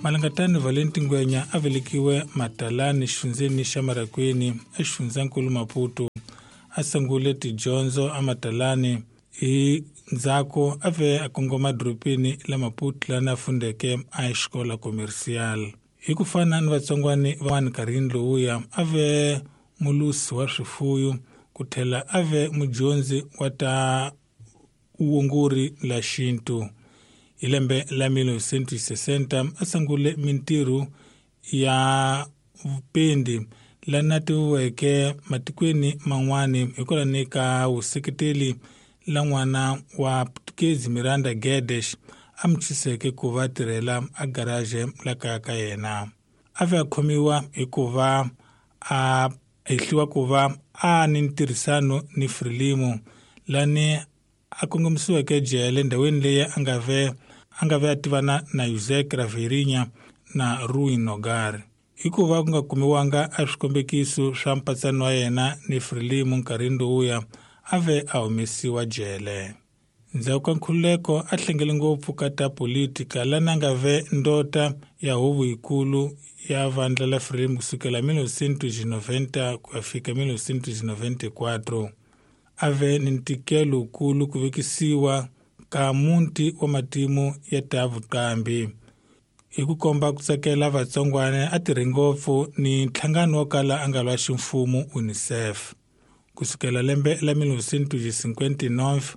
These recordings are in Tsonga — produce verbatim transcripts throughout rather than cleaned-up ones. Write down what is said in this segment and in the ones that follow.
Malangatani Valenti Ngwenya a velekiwe Matalani xifundzeni xa Marakwini exifundzankulu Maputo. A sungule tidyondzo a Matalani hi ndzhaku a ve a kongoma dorobeni la Maputo lana a fundeke a xikola commercial. Hi ku fana ni vatsongwani van'wana nkarhini lowuya a ve mulusi wa swifuyo ku tlhela a ve mudyondzi wa ta vuongori la xintu. Hi lembe la mil novecentos sessenta a sungule mintirho ya vupendi lana tiviweke matikweni man'wani hikwalaho ka vuseketeli la n'wana wa Portuguese Miranda Guedes a mu tshuseke ku va tirhela a garage la kaya ka yena. A ve a khomiwa hikuva a hehliwa ku va a ni ntirhisano ni Frelimo lani a kongomisiweke jele ndhawini leyi a nga ve a nga ve a tivana na José Craveirinha na Rui Nogar. Hikuva ku nga kumiwanga a swikombekiso swa mpatsano wa yena ni Frelimo nkarhini lowuya a ve a humesiwa jele. Ndzhaku ka nkhululeko a hlengele ngopfu ka ta politika lana nga ve ndota ya huvo yikulu ya vandla la Frelimo kusukela mil novecentos noventa ku ya fika mil novecentos noventa e quatro. A ve ni ntikelo wukulu ku vekisiwa ka muti wa matimu ya ta vuqambi. Hi ku komba ku tsakela vatsongwana a tirhe ngopfu ni nhlangano wo kala a nga lwa ximfumo UNICEF. Kusukela lembe la mil novecentos cinquenta e nove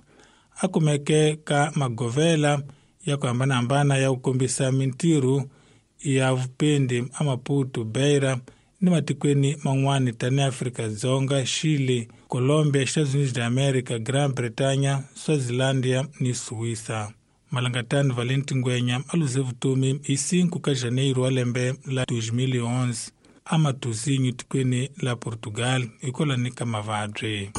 a kumeke ka magovela ya ku hambanahambana ya ku kombisa mintirho ya vupendi a Maputo, Beira ni matikweni man'wana tanihi Afrika-Dzonga, Chile, Colombia, Estados Unidos da América, Gran Bretanha, Swazilandia ni Suíça. Malangatani Valenti Ngwenya a luze vutomi hi cinco ka janeiro wa lembe la dois mil e onze a Matosinhos tikweni la Portugal hikwalaho ka mavabyi.